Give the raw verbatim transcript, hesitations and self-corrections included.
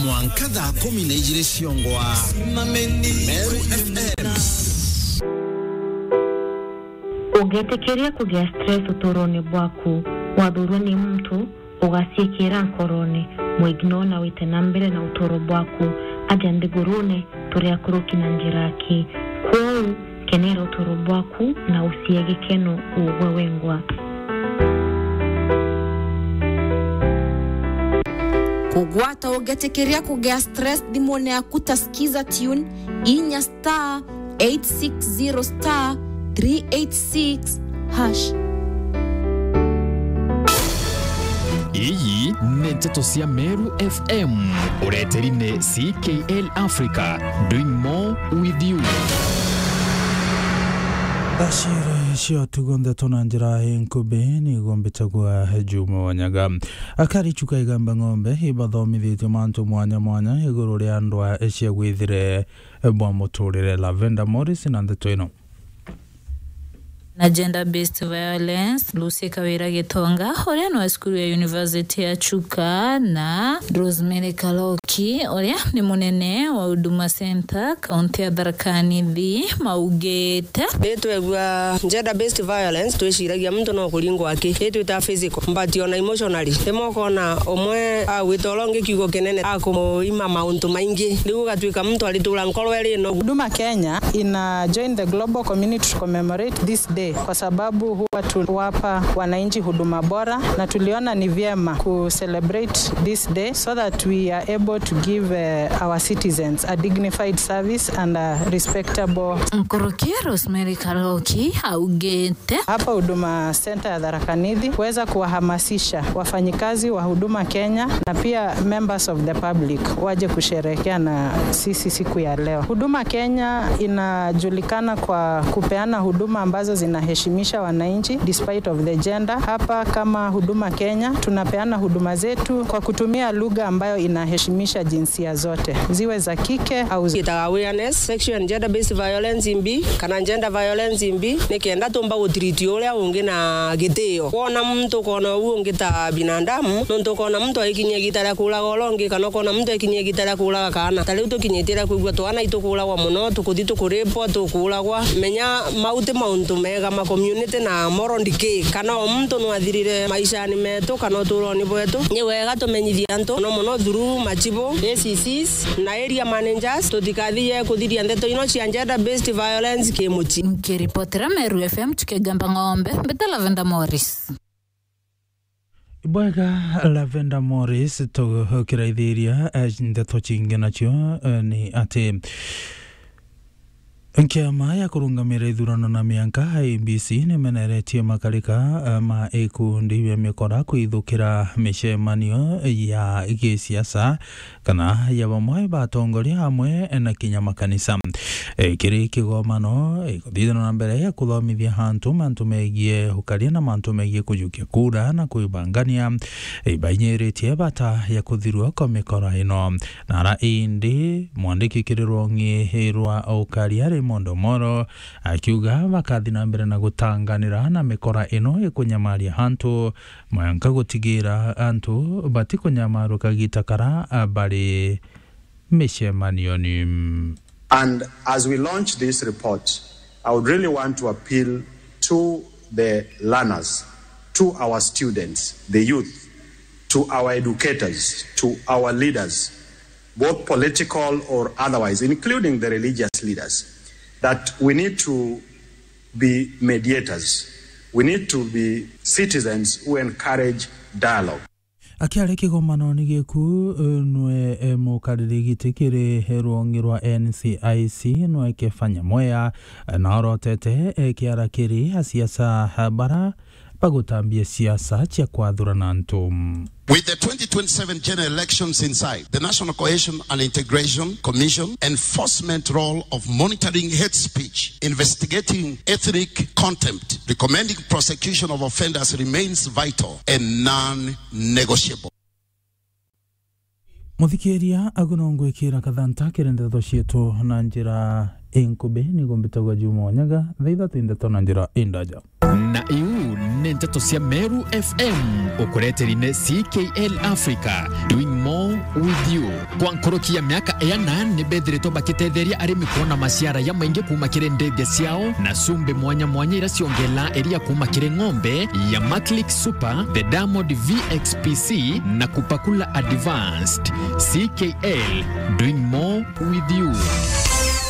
Mwanka thaa kumi na ijiri ciongwa. Meru F M. Ũngĩtĩkĩria kũgĩa stress ũtũũro-inĩ bwaku, wathurwa nĩ muntu, ũgaciĩkĩra nkorone, mwignore na wite na mbere na ũtũũro bwaku. Aja nthigurune, tũrĩ akũrũki na njĩra aki. Kwoou, kenera ũtũũro bwaku na ũcie gĩkeno ũgwe wengwa. Kũgwata ũngĩtĩkĩria kũgĩa stress thimũne yaku ta Skiza Tune, inya star eight six zero star three eight six hash. Iyi ni nteto cia Meru F M, ureteri ni C K L Africa, doing more with you. Ashira cio tugo ndeto na njira inkubi ni gombitagwa Juma Wanyaga. Akari chuka igamba ng'ombe ibathomithitio mantu mwanya mwanya iguru ria ndwa cia gwithire bwa muturire. Lavenda Morris na ndeto ino. Na gender based violence, Lucy Kawira Gitonga, uria ni wa cukuru ya University ya Chuka, na Rosemary Kaloki, uria ni munene wa Huduma Center, kaunti ya Tharaka Nithi, maugite. Ri twegua gender based violence, twiciragia muntu no kuringwa aki, ri twita physical, but ona emotionally. Rimwe ukona umwe agwita uria ungi kiugo kinene, akumuima mauntu maingi, riu ugatuika muntu aritura nkoro iri no. Huduma Kenya ina join the global community to commemorate this day kwa sababu huwa tuwapa wananchi huduma bora, na tuliona ni vyema ku celebrate this day so that we are able to give, eh, our citizens a dignified service and a respectable. Nkuruki Rosemary Kaloki augite. Hapa Huduma Center ya Tharaka Nithi kuweza kuwahamasisha wafanyikazi wa Huduma Kenya na pia members of the public waje kusherehekea na sisi siku ya leo. Huduma Kenya inajulikana kwa kupeana huduma ambazo zinaheshimisha wananchi despite of the gender. Hapa kama Huduma Kenya tunapeana huduma zetu kwa kutumia lugha ambayo inaheshimisha jinsia zote, ziwe za kike au zi- Itaga awareness, sexual and gender based violence imbi, kana gender violence imbi, ni kenda tumba gutreat uria ungi na gitio. Wona muntu ukona uu ungi ta binadamu, nontu ukona muntu aikinyia igita ria kuuraga uria ungi, kana ukona muntu aikinyia igita ria kuuraga kaana. Ta riu tukinyitie ria kwigua twana itukuuragwa mono, tukuthi tukuripwa, tukuuragwa. Menya mau ti mauntu mega ma community na moral decay. Kana o muntu no athirire maishani metu kana uturoni bwetu. Ni wega tumenyithie antu, mono mono through machibu, A C Cs, na area managers, tutikathie kuthiria ndeto ino cia gender based violence kimuchi. Nkiripotera Meru F M tukigamba ng'ombe, mbita Lavenda Morris. Bwega, Lavenda Morris, tukiraithiria, eh, ndeto cingi nacio, eh, ni ati Nkiama ya kurungamira ithurano na mianka, I E B C, nimeneretie makarika, eh, ma ikundi bia mikora kwithukira micemanio ya gisiasa kana ya bamwe ba atongoria amwe na kinya makanisa. Eh, kiri kigomano, eh, kuthithana na mbere ya kuthomithia antu mantu megie ukaria na mantu megie kujukia kura na kwibangania, eh, bainyiritie bata ya kuthirua kwa mikora ino. Nara indi, mwandiki kiri rwong'i rwa ukaria Raymond Omoro akiuga bakathi na mbere na gutanganira na mikora ino ikunyamaria antu, mwanka gutigira antu batikunyamarwa kagita kara bari micemanioni. And as we launch this report, I would really want to appeal to the learners, to our students, the youth, to our educators, to our leaders, both political or otherwise, including the religious leaders, that we need to be mediators. We need to be citizens who encourage dialogue. Akiaria kigomanoni giku, eh, nwe, eh, mukariri giti kiri rwongi rwa N C I C, nwe Kefanya Mwea, eh, na orotete, eh, kiara kiri asiasa, eh, bara bagutambia siasa cia kwathurana antu. With the twenty twenty-seven general elections in sight, the National Cohesion and Integration Commission enforcement role of monitoring hate speech, investigating ethnic contempt, recommending prosecution of offenders remains vital and non-negotiable. Muthikiria, agu no ngwikira kathanta kiri ndeto cietu na njira inkubi, nigo mbitagwa Juma Wanyaga, thaa ithatu ndeto na njira indaja. Na iu Nteto cia Meru F M, ukureteri ni C K L Africa, doing more with you. Kwa nkoroki ya miaka ena, ni bethiritwe bakitetheria arimi kuona maciara ya maingi kuuma kiri ndithia ciao, na cumbi mwanya mwanya iria ciongela iria kuuma kiri ng'ombe ya Maclick Super, the Diamond V X P C, na Kupakula Advanced. C K L, doing more with you.